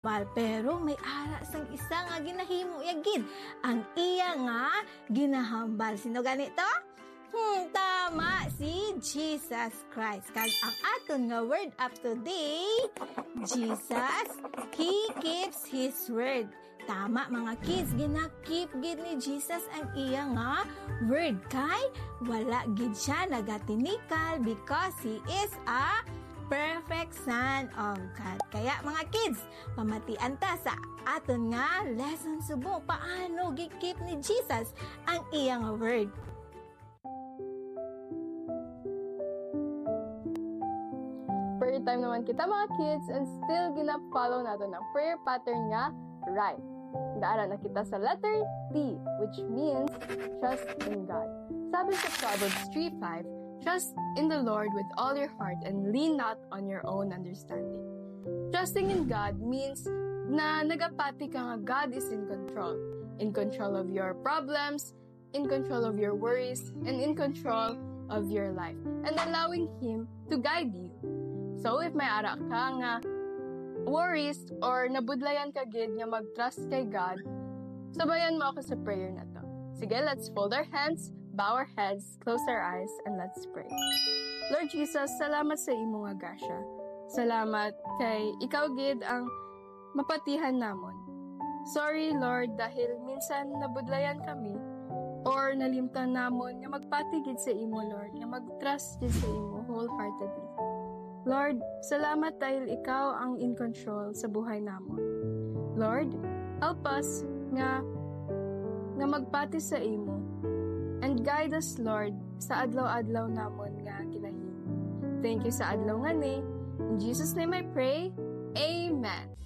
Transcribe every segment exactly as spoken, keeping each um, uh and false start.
Bal, pero may ara sang isa nga ginahimo niya gid ang iya nga ginahambal. Sino gani to? Hmm, tama, si Jesus Christ. Kag ang aton nga word up today, Jesus, He keeps His word. Tama, mga kids, gina-keep gid ni Jesus ang iya nga word. Kay wala gid siya nagatinikal because He is a perfect Son of God. Kaya, mga kids, pamatian ta sa aton nga lesson subong paano gi-keep ni Jesus ang iya nga word. Prayer time naman kita, mga kids, and still gina-follow naton ang prayer pattern nga right. Dara na kita sa letter T, which means trust in God. Sabi sa Proverbs three five, "Trust in the Lord with all your heart and lean not on your own understanding." Trusting in God means na nagapati ka nga God is in control. In control of your problems, in control of your worries, and in control of your life, and allowing Him to guide you. So, if may ara ka nga worries or nabudlayan ka gid nga mag-trust kay God, sabayan mo ako sa prayer na to. Sige, let's fold our hands, bow our heads, close our eyes, and let's pray. Lord Jesus, salamat sa imo nga grasya. Salamat kay ikaw gid ang mapatihan namon. Sorry, Lord, dahil minsan nabudlayan kami or nalimtan namon nga magpati gid sa imo, Lord, nga mag-trust gid sa imo wholeheartedly. Lord, salamat dahil ikaw ang in control sa buhay namon. Lord, help us nga, nga magpati sa imo and guide us, Lord, sa adlaw-adlaw namon nga ginahimo. Thank you sa adlaw nga ni. In Jesus' name I pray. Amen.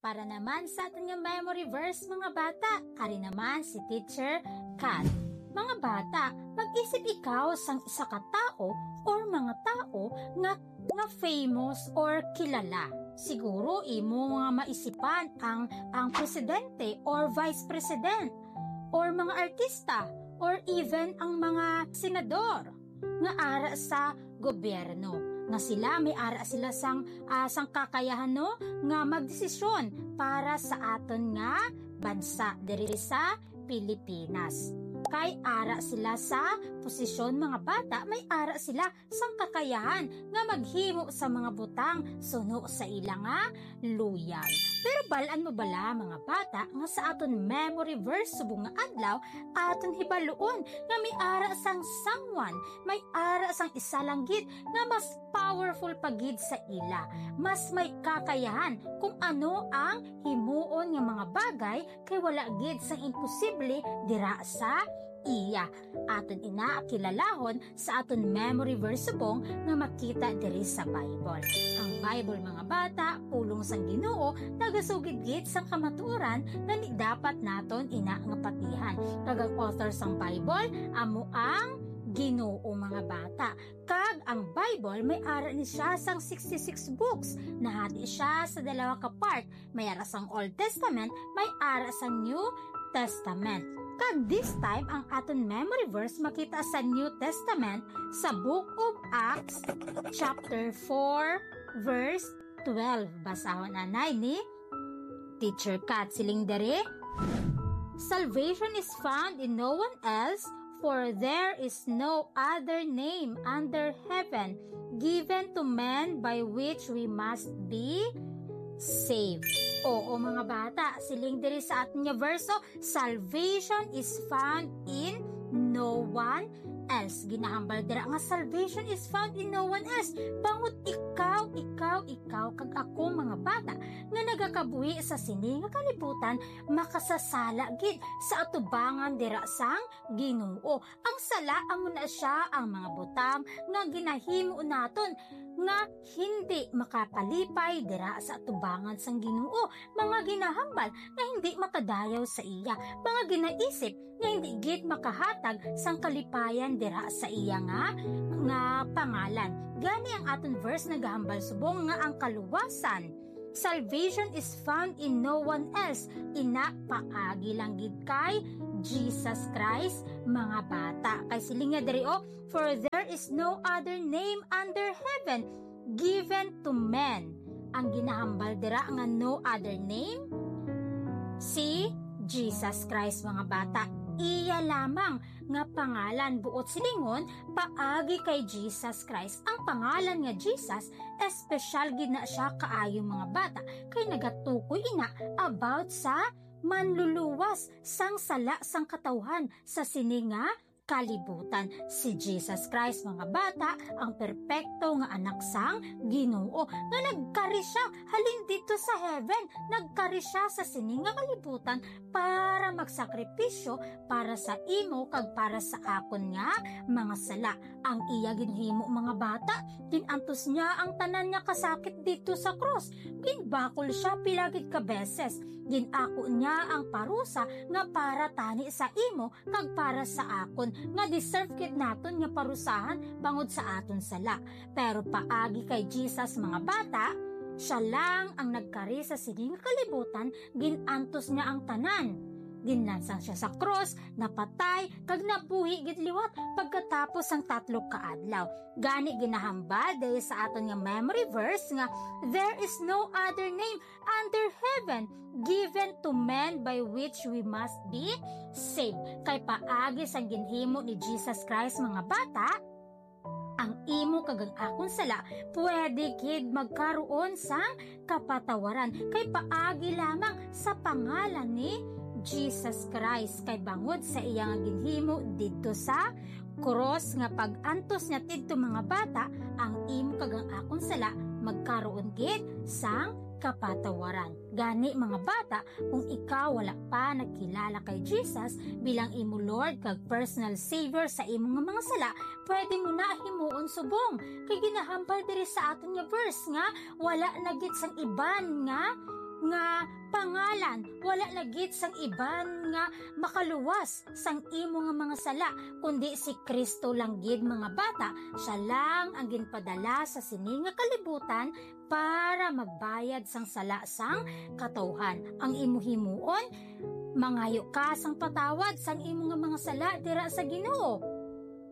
Para naman sa aton nga memory verse, mga bata, ari naman si Teacher Kat. Mga bata, mag-isip ikaw sang isa ka tawo or mga tawo nga, nga famous or kilala. Siguro imo nga maisipan ang, ang presidente or vice president or mga artista or even ang mga senador nga ara sa gobyerno, nga sila may ara sila sang, ah, sang kakayahan, no, nga magdesisyon para sa aton nga bansa diri sa Pilipinas. Kay ara sila sa posisyon, mga bata, may ara sila sang kakayahan nga maghimo sa mga butang suno sa ila nga luyag. Pero bal-an mo bala, mga bata, nga sa aton memory verse subong nga adlaw, aton hibaluon nga may ara sang someone, may ara sang isa lang gid nga mas powerful pa gid sa ila, mas may kakayahan kung ano ang himuon nga mga bagay, kay wala gid sang imposible dira sa iya. Aton ina kilalahon sa aton memory verse subong nga makita diri sa Bible. Ang Bible, mga bata, pulong sang Ginoo, nagasugid gid sang kamatuoran nga ni dapat naton ina nga patihan. Kag ang author sang Bible amo ang Ginoo, mga bata. Kag ang Bible may ara ni siya sang sixty-six books. Nahati siya sa dalawa ka part. May ara sang Old Testament, may ara sang New Testament. Kag this time, ang aton memory verse makita sa New Testament, sa Book of Acts, chapter four, verse twelve. Basahon anay ni Teacher Kat. Siling diri, "Salvation is found in no one else, for there is no other name under heaven given to men by which we must be saved." Oo, mga bata, siling diri sa aton nga verso, "Salvation is found in no one else." Ginahambal dira nga salvation is found in no one else. Bangod ikaw, ikaw, ikaw, kag ako, mga bata, nga nagakabuhi sa sini nga kalibutan, makasasala gid sa atubangan dira sang Ginoo. Ang sala amo na sia ang mga butang nga ginahimo naton nga hindi makapalipay dira sa atubangan sang Ginoo, mga ginahambal nga hindi makadayaw sa iya, mga ginaisip nga hindi gid makahatag sang kalipayan dira sa iya nga, nga pangalan. Gani ang aton verse nagahambal subong nga ang kaluwasan Salvation is found in no one else. Ina, paagi lang gid kay Jesus Christ, mga bata. Kay siling niya diri, oh, "For there is no other name under heaven given to men." Ang ginahambal dira nga no other name, si Jesus Christ, mga bata. Iya lamang nga pangalan, buot silingon, paagi kay Jesus Christ. Ang pangalan nga Jesus, espesyal gid na siya kaayo, mga bata, kay nagatukoy ina about sa manluluwas sang sala sang katawhan sa sini nga kalibutan. Si Jesus Christ, mga bata, ang perpekto nga anak sang Ginoo, nga nagkari siya halin dito sa heaven, nagkari siya sa sini nga kalibutan para magsakripisyo para sa imo kag para sa akon nga mga sala. Ang iya ginhimo, mga bata, gin-antos niya ang tanan nga kasakit dito sa krus. Ginbakol siya pila gid ka beses. Gin-ako niya ang parusa nga para tani sa imo kag para sa akon, nga deserve gid naton nga parusahan bangod sa aton sala. Pero paagi kay Jesus, mga bata, siya lang ang nagkari sa sini nga kalibutan, gin-antos niya ang tanan. Ginlansang siya sa krus, napatay, kag nabuhi gid liwat pagkatapos sang tatlo ka adlaw. Gani ginahambal diri sa aton nga memory verse nga, "There is no other name under heaven given to men by which we must be saved." Kay paagi sang ginhimo ni Jesus Christ, mga bata, ang imo kag ang akon sala pwede gid magkaroon sang kapatawaran kay paagi lamang sa pangalan ni Jesus Christ, kay bangod sa iya nga ginhimo didto sa krus nga pag-antos niya didto, mga bata, ang imo kag ang akon sala magkaroon gid sang kapatawaran. Gani, mga bata, kung ikaw wala pa nagkilala kay Jesus bilang imo Lord kag personal Savior sa imo nga mga sala, pwede mo na himuon subong. Kay ginahambal diri sa aton nga verse nga wala na gid sang iban nga, nga pangalan, wala na gid sang iban nga makaluwas sang imo nga mga sala, kundi si Kristo lang gid, mga bata. Siya lang ang ginpadala sa sini nga kalibutan para magbayad sang sala sang katawhan. Ang imo himuon, mangayo ka sang patawad sang imo nga mga sala dira sa Ginoo.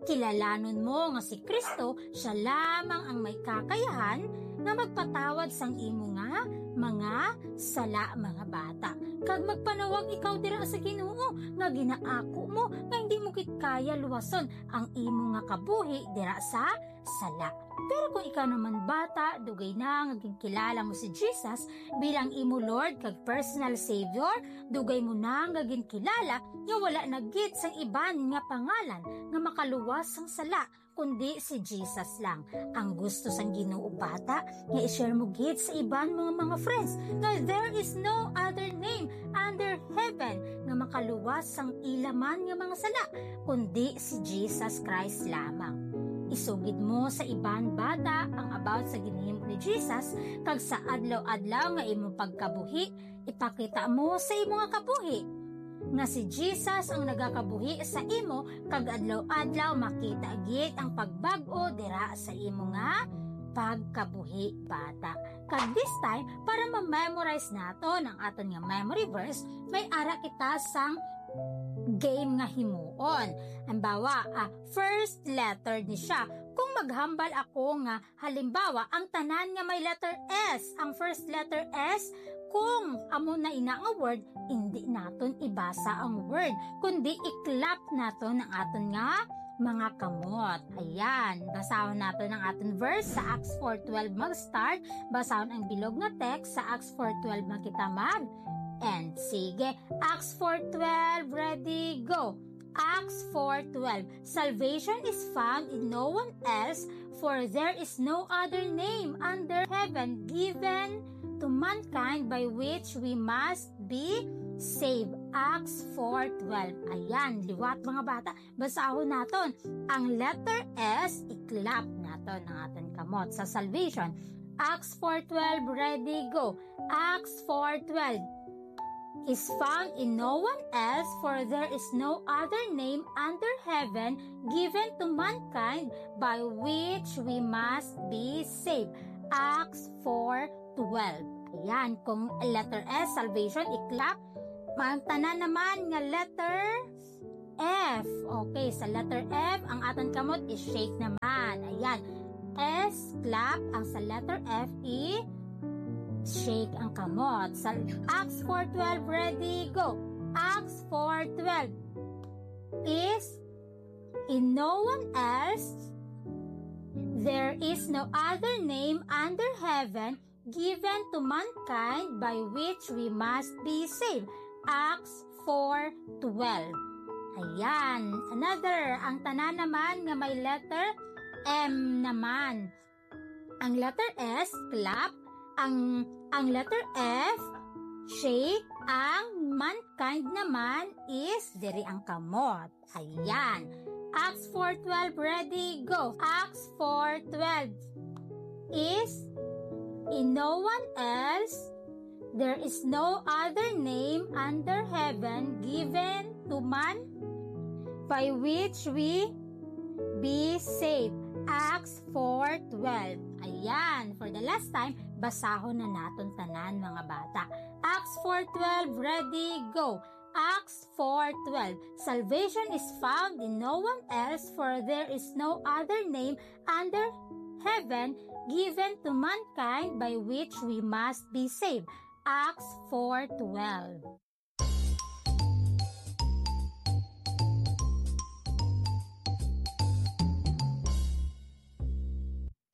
Kilalanon mo nga si Kristo, siya lamang ang may kakayahan nga magpatawad sang imo nga mga sala, mga bata. Kag magpanawag ikaw dira sa Ginoo nga ginaako mo nga hindi mo gid kaya luwason ang imo nga kabuhi dira sa sala. Pero kung ikaw naman, bata, dugay na nga ginkilala mo si Jesus bilang imo Lord kag personal Savior, dugay mo na nga ginkilala nga wala na gid sang iban nga pangalan nga makaluwas sang sala kundi si Jesus lang. Ang gusto sang Ginoo, bata, nga i-share mo gid sa iban mo nga mga friends nga there is no other name under heaven nga makaluwas sang ila man nga mga sala, kundi si Jesus Christ lamang. Isugid mo sa iban, bata, ang about sa ginhimo ni Jesus, kag sa adlaw-adlaw nga imo pagkabuhi, ipakita mo sa imo nga kabuhi nga si Jesus ang nagakabuhi sa imo, kag adlaw-adlaw makita gid ang pagbag-o dira sa imo nga pagkabuhi, bata. Kag this time, para ma-memorize naton ang aton nga memory verse, may ara kita sang game nga himuon. Halimbawa, ah, first letter ni siya. Kung maghambal ako nga, halimbawa, ang tanan nga may letter S, ang first letter S, kung amo na ina nga word, hindi naton ibasa ang word, kundi i-clap naton ang aton nga mga kamot. Ayan, basahon naton ang aton verse sa Acts four twelve mag-start. Basahon ang bilog nga text sa Acts four twelve, makita mag-end. Sige, Acts four twelve, ready, go. Acts four twelve, "Salvation is found in no one else, for there is no other name under heaven given to mankind by which we must be saved." Acts four twelve. Ayan, liwat, mga bata. Basahon naton. Ang letter S, i-clap naton ang aton kamot sa salvation. Acts four twelve, ready, go. Acts four twelve, "Is found in no one else, for there is no other name under heaven given to mankind by which we must be saved." Acts four twelve. Ayan, kung letter S, salvation, i-clap. Ang tanan naman nga letter F. Okay, sa letter F, ang aton kamot is shake naman. Ayan. S, clap. Ang sa letter F, i-shake ang kamot. Sa Acts four twelve, ready, go. Acts four twelve is in no one else, there is no other name under heaven given to mankind by which we must be saved. Acts four twelve. Ayan. Another, ang tanan naman nga may letter M naman. Ang letter S, clap. Ang, ang letter F, shake. Ang mankind naman is diri ang kamot. Ayan. Acts four twelve, ready, go. Acts four twelve is in no one else, there is no other name under heaven given to man by which we be saved. Acts four twelve. Ayan, for the last time, basahon na naton tanan, mga bata. Acts four twelve, ready, go. Acts four twelve. Salvation is found in no one else, for there is no other name under heaven given to mankind by which we must be saved. Acts four twelve.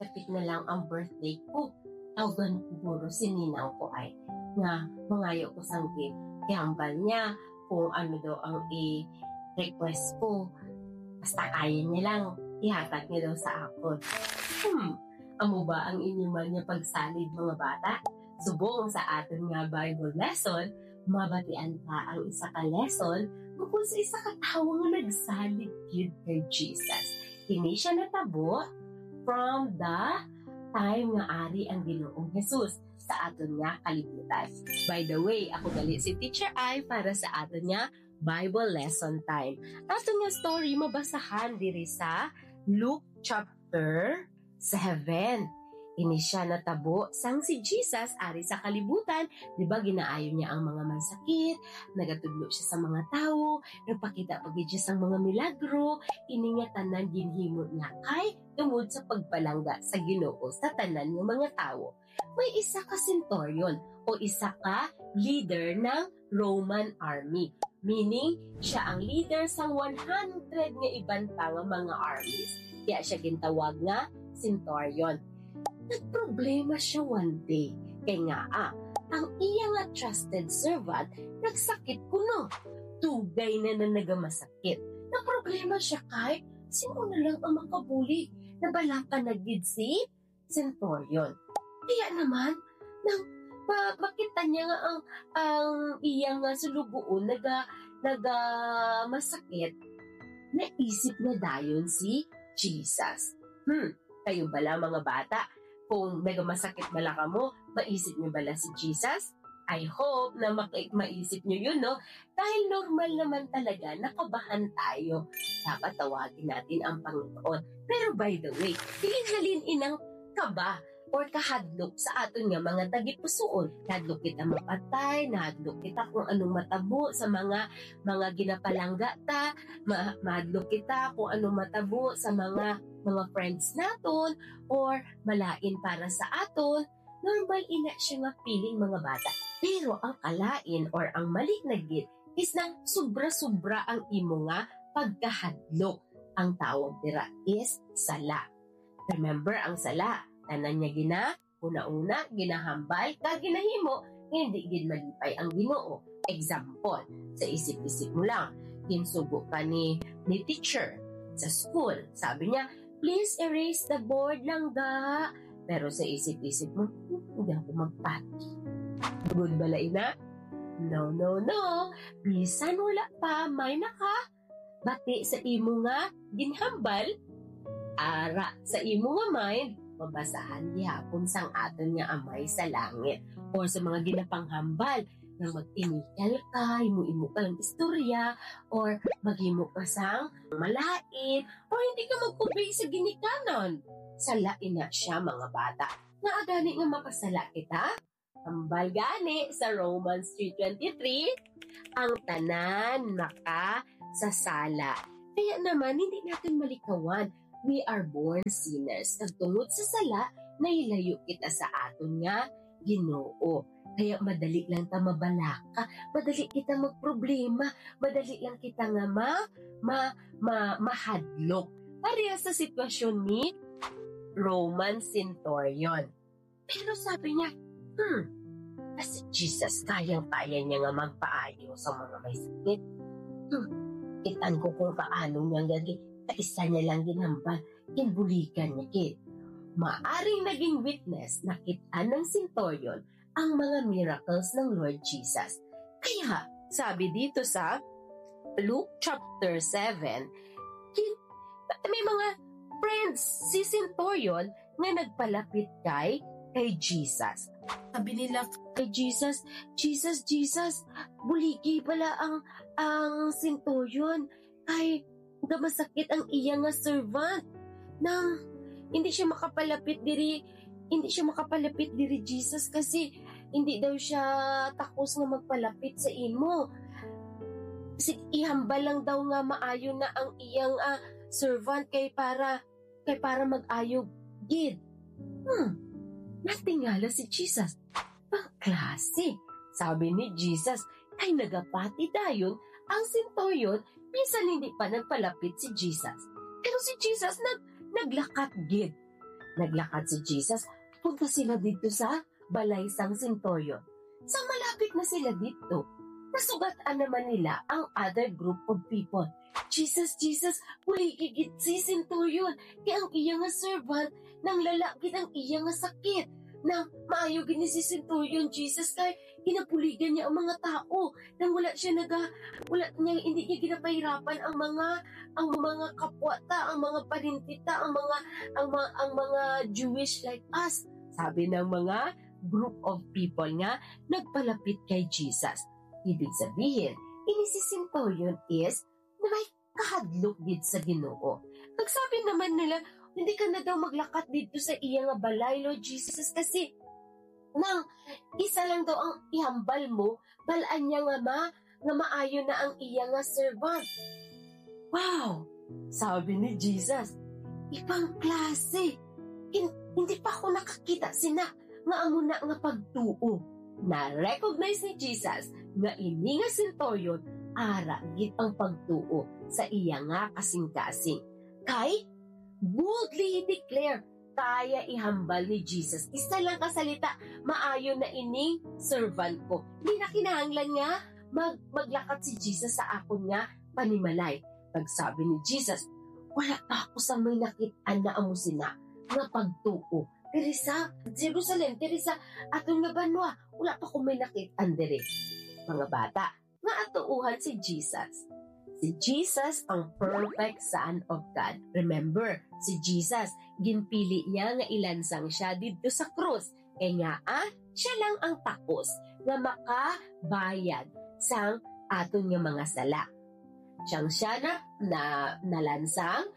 Dapit na lang ang birthday ko. Tawagan ko guro si ninang ko ay nga mangayo ko sang gift. Kay hambal niya kung ano daw ang i-request ko. Basta kaya niya lang, ihatag niya daw sa akon. Hmm, amo ba ang inyo man nga pagsalig, mga bata? Subong sa aton nga Bible lesson, mabatian ta ang isa ka lesson tungkol sa isa ka tawo nga nagsalig gyud kay Jesus. Kini siya natabo from the time nga ari ang Ginoong Jesus sa aton nga kalibutan. By the way, ako gali si Teacher Ai para sa aton nga Bible lesson time. Aton nga story mabasahan diri sa Luke chapter seven. Ini siya natabo sang si Jesus ari sa kalibutan. Di ba, ginaayo niya ang mga may sakit, nagatudlo siya sa mga tawo, nagpakita pa gid siya sang mga milagro. Ini nga tanan ginhimo niya kay tungod sa pagpalangga sa Ginoo sa tanan nga mga tawo. May isa ka centurion o isa ka leader ng Roman army. Meaning, siya ang leader sang one hundred nga iban pa nga mga armies. Kaya siya gintawag nga centurion. Nagproblema siya one day. Kay nga, ah, ang iya nga trusted servant nagsakit kuno. Dugay na na nagamasakit. Naproblema siya kay sino na lang ang makabulig. Nabalakan na gid si centurion. Kaya naman, nang ma- makita niya nga ang, ang iya nga sulugoon naga, naga masakit, naisip na dayon si Jesus. Hmm, kayo bala, mga bata, kung nagamasakit bala kamo, maisip niyo bala si Jesus? I hope na maki- maisip niyo yun, no? Dahil normal naman talaga na kabahan tayo. Dapat tawagin natin ang Panginoon. Pero by the way, dili halin inang kaba or kahadlok sa aton nga mga tagipusoon. Nahadlok kita mapatay, nahadlok kita kung anong matabo sa mga mga ginapalangga ta, ma- mahadlok kita kung anong matabo sa mga mga friends naton or malain para sa aton. Normal ina siya nga feeling, mga bata. Pero ang kalain or ang mali na gid is nang sobra-sobra ang imo nga pagkahadlok. Ang tawag dira is sala. Remember ang sala, tanan niya gina, una-una, ginahambal, kag ginahimo, nga hindi gid malipay ang Ginoo. Example, sa isip-isip mo lang, ginsugo ka ni, ni teacher sa school. Sabi niya, "Please erase the board lang, ga." Pero sa isip-isip mo, "Hmm, hindi ako magpati." Good bala ina? No, no, no. Bisan wala pa may naka bati sa imo nga ginhambal, ara sa imo nga mind, mabasahan gihapon sang aton nga Amay sa langit. Or sa mga ginapanghambal nga mag-inigal ka, imo-imo ka lang istorya, or maghimo ka sang malain, or hindi ka mag-obey sa ginikanan. Sala ina siya, mga bata. Nga agani nga makasala kita? Hambal gani sa Romans three twenty-three, ang tanan makasasala. Kaya naman, hindi natin malikawan, we are born sinners. Kag tungod sa sala, nahilayo kita sa aton nga Ginoo. Kaya madali lang ta mabalaka, madali kita magproblema, madali lang kita nga ma, ma, ma, mahadlok. Pareha sa sitwasyon ni Roman centurion. Pero sabi niya, "Hmm, na si Jesus, kayang-kaya niya nga magpaayo sa mga may sakit. Hmm, kitan ko kung paano niya nga gi-, kaisa niya lang ginhambal, ginbuligan niya gid." Maaring naging witness, nakit-an ng centurion ang mga miracles ng Lord Jesus. Kaya, sabi dito sa Luke chapter seven, kin-, may mga friends si centurion nga nagpalapit kay, kay Jesus. Sabi nila kay Jesus, "Jesus, Jesus, buligi bala ang, ang centurion kay gamasakit ang iya nga servant. Nang hindi siya makapalapit diri, hindi siya makapalapit diri, Jesus, kasi hindi daw siya takos nga magpalapit sa imo. Si, ihambal lang daw nga maayo na ang iyang, ah, servant kay para, kay para mag-ayo gid." Hmm. Natingala si Jesus. "Pangklase," sabi ni Jesus, kay nagapati dayon ang centurion, bisan hindi pa nagpalapit si Jesus. Pero si Jesus nag-, naglakat gid. Naglakat si Jesus, punta sila didto sa balay sang centurion. Sa malapit na sila didto, nasugat-an naman nila ang other group of people. "Jesus, Jesus, buligi gid si centurion, kay ang iya nga servant, nanglala gid ang iya nga sakit. Nang maayo gid ni si centurion, Jesus, kay ginabuligan niya ang mga tao. Nang wala siya naga-, wala niya, hindi niya ginapahirapan ang mga, ang mga kapwa ta, ang mga parinti ta, ang mga, ang mga, ang mga Jewish like us," sabi ng mga group of people nga nagpalapit kay Jesus. Ibig sabihin, ini si centurion is na may kahadlok gid sa Ginoo. Nagsabi naman nila, "Hindi ka na daw maglakat didto sa iya nga balay, Lord Jesus, kasi nang isa lang daw ang ihambal mo, bal-an niya nga ma-, nga maayo na ang iya nga servant." Wow! Sabi ni Jesus, "Ibang klase! Hin-, hindi pa ako nakakita sina nga amo na nga pagtuo." Na-recognize ni Jesus nga ini nga centurion ara gid ang pagtuo sa iya nga kasing-kasing. Kay boldly he declare, kaya ihambal ni Jesus. Isa lang ka salita, "Maayo na ining servant ko." Hindi na kinahanglan nga mag-, maglakat si Jesus sa akon nga panimalay. Pagsabi ni Jesus, "Wala pa ako sa may nakit-an na amo sina nga pagtuo. Diri sa Jerusalem, diri sa aton nga banwa, wala pa ko may nakit-an diri." Mga bata, nga atuohan si Jesus. Si Jesus ang perfect Son of God. Remember, si Jesus, ginpili niya nga ilansang siya didto sa krus. Kay nga, ah, siya lang ang takos nga makabayad sang aton nga mga sala. Siyang siya na, na, nalansang,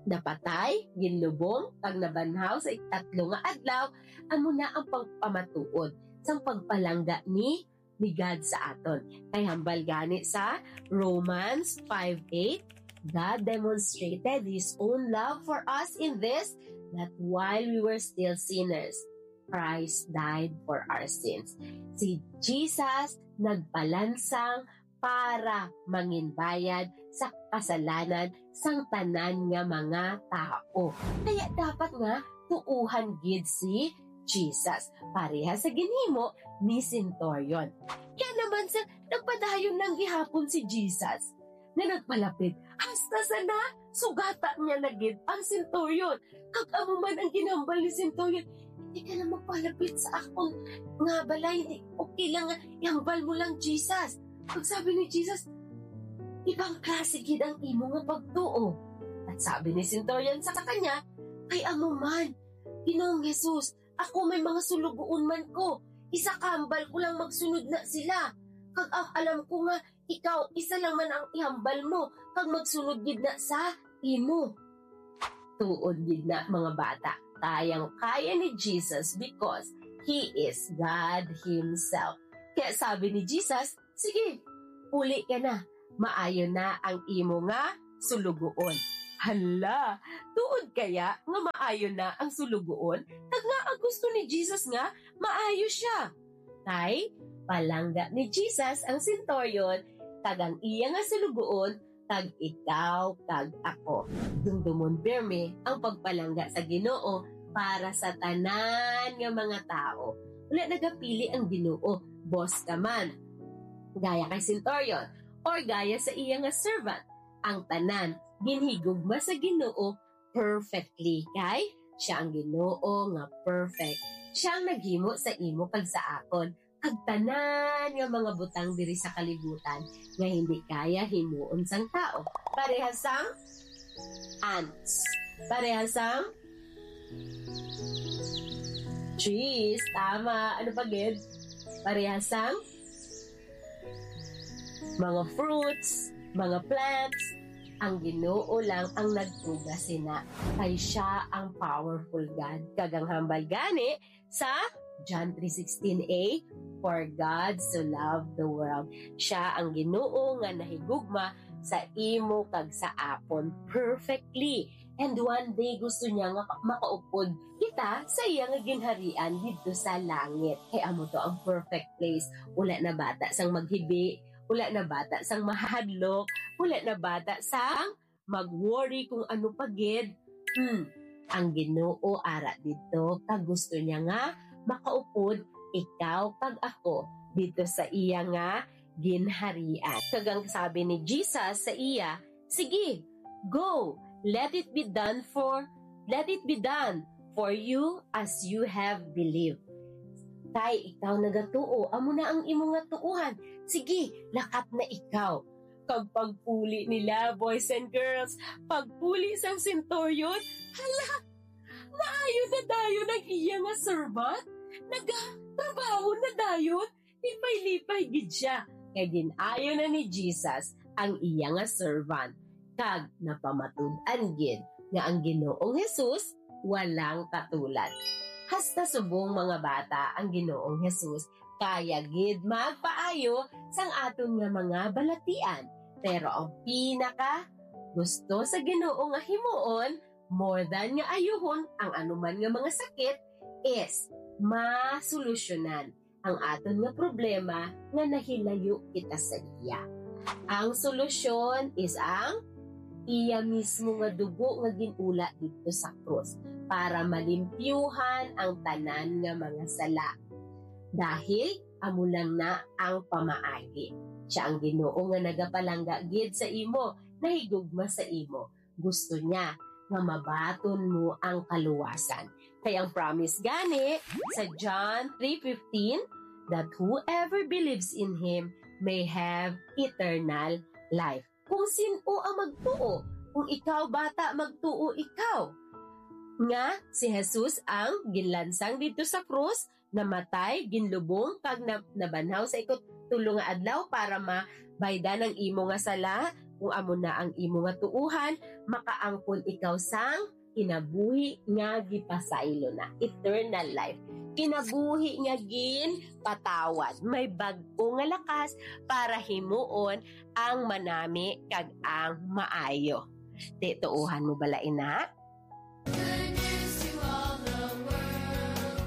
napatay, ginlubong, kag nabanhaw sa ikatlo nga adlaw, amo na ang pagpamatuod sang pagpalangga ni, ni God sa aton. Kay hambal gani sa Romans five eight, "God demonstrated His own love for us in this, that while we were still sinners, Christ died for our sins." Si Jesus nagpalansang para manginbayad sa kasalanan sang tanan nga mga tao. Kaya dapat nga tuohan gid si Jesus, pareha sa ginhimo ni centurion. Kaya naman sa nagpadayon lang gihapon si Jesus nga nagpalapit, hasta sa na sugata niya na gid ang centurion. Kag amo man ang ginhambal ni centurion, "Hindi ka na magpalapit sa akon nga balay, hindi, okay lang nga ihambal mo lang, Jesus." Pagsabi ni Jesus, "Ibang klase gid ang imo nga pagtuo." At sabi ni centurion sa kanya, "Kay amo man, Ginoong Jesus, ako may mga sulugoon man ko. Isa ka hambal ko lang magsunod na sila. Kag ang alam ko nga ikaw, isa lang man ang ihambal mo, kag magsunod gid na sa imo." Tuod gid na, mga bata, kayang-kaya ni Jesus because He is God Himself. Kaya sabi ni Jesus, "Sige, puli ka na. Maayo na ang imo nga sulugoon." Hala, tuod kaya nga maayo na ang sulugoon? Kag nga ang gusto ni Jesus nga maayo siya. Kay palangga ni Jesus ang senturyon kag ang iya nga sulugoon, kag ikaw kag ako. Dumdumon pirme ang pagpalangga sa Ginoo para sa tanan nga mga tawo. Wala nagapili ang Ginoo, boss ka man, gaya kay senturyon, or gaya sa iya nga servant. Ang tanan ginhigugma sa Ginoo perfectly, kay siya ang Ginoo nga perfect. Siya ang naghimo sa imo kag sa akon, kag tanan nga mga butang diri sa kalibutan nga hindi kaya himuon sang tao. Parehas sang ants. Parehas sang trees. Tama. Ano pa gid? Parehas sang mga fruits, mga plants. Ang Ginoo lang ang nagbuga sina, kay siya ang powerful God. Kag ang hambal gani sa John three sixteen a, "For God so loved the world." Siya ang Ginoo nga nahigugma sa imo kag sa akon perfectly. And one day, gusto niya nga makaupod kita sa iya nga ginharian didto sa langit. Kay amo to ang perfect place. Wala na bata sang maghibi, wala na bata sang mahadlok, wala na bata sang mag-worry kung ano pa gid. Hmm, ang Ginoo ara didto, kag gusto niya nga makaupod ikaw kag ako didto sa iya nga ginharian. Kag ang sabi ni Jesus sa iya, "Sige, go, let it be done for, let it be done for you as you have believed." Kay ikaw nagatuo, amo na ang imo nga tuohan. Sige, lakat na ikaw. Kag pagpuli nila, boys and girls, pagpuli sang senturyon, hala, maayo na dayon ang iya nga servant. Nagatrabaho na dayon, lipay-lipay gid sia, kay gin-ayo na ni Jesus ang iya nga servant, kag napamatud-an gid nga ang Ginoong Jesus walang katulad. Hasta subong mga bata ang Ginoong Jesus, kaya gid magpaayo sang aton nga mga balatian. Pero ang pinaka gusto sa Ginoo nga himuon, more than nga ayuhon ang anuman nga mga sakit, is masolusyonan ang aton nga problema nga nahilayo kita sa iya. Ang solusyon is ang iya mismo nga dugo nga gin-ula didto sa krus para malimpyuhan ang tanan nga mga sala. Dahil amo lang na ang pamaagi. Siya ang Ginoo nga nagapalangga gid sa imo, nahigugma sa imo. Gusto niya nga mabaton mo ang kaluwasan. Kay ang promise gani sa John three fifteen, that whoever believes in him may have eternal life. Kung sin-o ang magtuo, kung ikaw, bata, magtuo ikaw nga si Jesus ang ginlansang didto sa krus, namatay, ginlubong, kag na-, nabanhaw sa ikatulo nga adlaw para mabaydan ang imo nga sala, kung amo na ang imo nga tuohan, makaangkon ikaw sang kinabuhi nga gipasaylo na, eternal life. Kinabuhi nga ginpatawad. May bag-o nga lakas para himuon ang manami kag ang maayo. Ti, tuohan mo bala ina? Good news to all the world.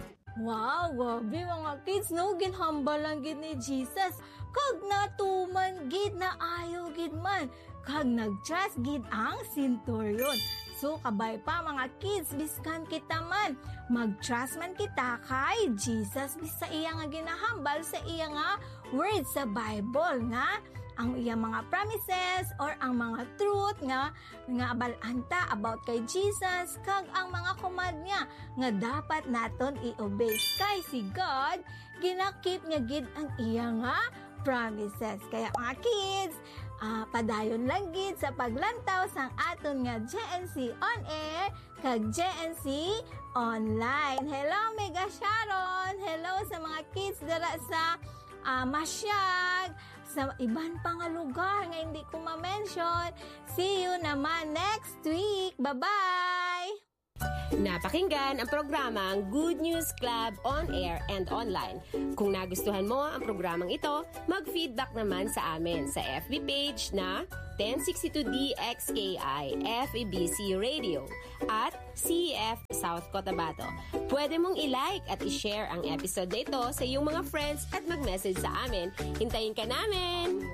Wow, grabe, mga kids, no? Ginhambal lang gid ni Jesus. Kag natuman gid, naayo gid man. Kag nag-trust gid ang centurion. So, kabay pa, mga kids, biskan kita man, mag-trust man kita kay Jesus, bis-, sa iya nga ginahambal, sa iya nga word sa Bible, nga ang iya mga promises or ang mga truth nga nga abal-an ta about kay Jesus kag ang mga command niya nga dapat naton i-obey. Kay si God, ginakip niya gid ang iya nga promises. Kaya, mga kids, ah, padayon lang gid sa paglantaw sang aton nga G N C On Air kag G N C Online. Hello, Mega Sharon! Hello sa mga kids dira sa, ah, Masiag, sa iban pa nga lugar nga hindi ko ma-mention. See you naman next week. Bye-bye! Napakinggan ang programang Good News Club on air and online. Kung nagustuhan mo ang programang ito, mag-feedback naman sa amin sa F B page na ten sixty-two D X K I F E B C Radio at C E F South Cotabato. Pwede mong i-like at i-share ang episode na ito sa iyong mga friends at mag-message sa amin. Hintayin ka namin!